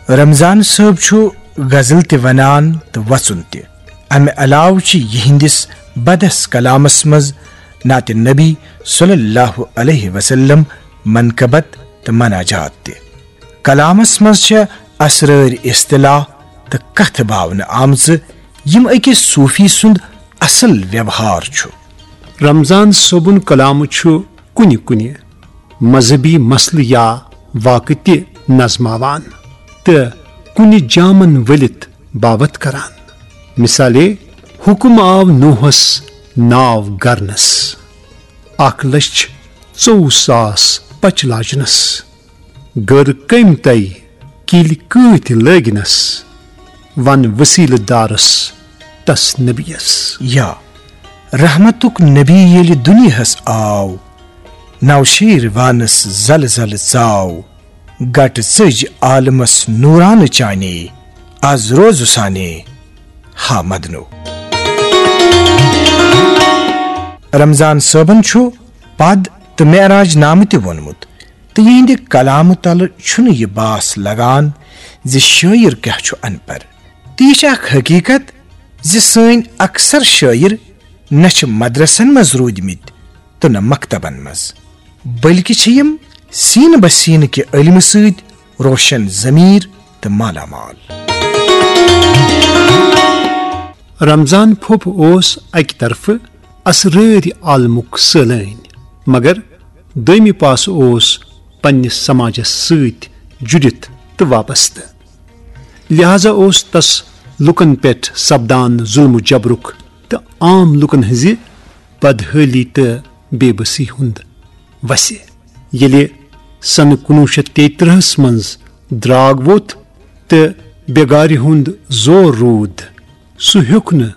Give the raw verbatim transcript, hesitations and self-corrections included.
رمضان صٲب چھُ غزل تہِ ونان تہٕ وژُن تہِ۔ امہِ علاوٕ چھِ یِہنٛدِس بدس کلامس منٛز نعتِ نبی صلی اللہ علیہ وسلم، منقبت تہٕ مناجات تہِ۔ کلامس منٛز چھےٚ اسرٲرۍ اصطلاح تہٕ کتھٕ باونہٕ آمژٕ، یِم أکِس صوٗفی سُنٛد اصل ویوہار چھُ۔ رمضان صٲبُن کلام چھُ کُنہِ کُنہِ مذہبی مسلہٕ یا واقعہٕ تہِ نظماوان تہٕ کُنہِ جامن ؤلِتھ باوتھ کران۔ مثالے، حکم آو نوحس ناو گرنس، اکھ لچھ ژوٚوُہ ساس پچہِ لاجنس، گٔر کٔمۍ تۄہہِ کِلۍ کۭتۍ لٲگنس، ون وسیلہٕ دارس تس نبیس۔ یا رحمتُک نبی ییٚلہِ دُنیاہس آو، نوشیٖر وانس زلہٕ زلہٕ ژاو، گٹہٕ ژٔج عالمس نورانہٕ چانے، از روزُسانے ہا مدنو۔ رمضان صٲبن چھُ پد تہٕ معراج نامہٕ تہِ ووٚنمُت، تہٕ یِہنٛدِ کلامہٕ تلہٕ چھُنہٕ یہِ باس لگان زِ شٲعر کیٛاہ چھُ ان پڑھ۔ تہٕ یہِ چھِ اکھ حقیٖقت زِ سٲنۍ اکثر شٲعر نہ چھِ مدرسن منٛز روٗدمٕتۍ تہٕ نہ مکتبن منٛز، بلکہِ چھِ یِم سینہٕ بہ سینہٕ کہِ علمہٕ سۭتۍ روشن ضمیٖر تہٕ مالا مال۔ رمضان پھوٚپ اوس اکہِ طرفہٕ اسرٲرۍ عالمُک سٲلٲنۍ، مگر دوٚیمہِ پاسہٕ اوس پننِس سماجس سۭتۍ جُڑِتھ تہٕ وابستہٕ۔ لہذا اوس تس لوٗکن پٮ۪ٹھ سپدان ظلم و جبرُک تہٕ عام لوٗکن ہٕنٛزِ بدحٲلی تہٕ بے بسی ہُنٛد وسہِ۔ ییٚلہِ سنہٕ کُنوُہ شیٚتھ تیٚیہِ ترٕٛہس منٛز درٛاگ ووٚتھ تہٕ بیگارِ ہُنٛد زور روٗد، سُہ ہیوٚک نہٕ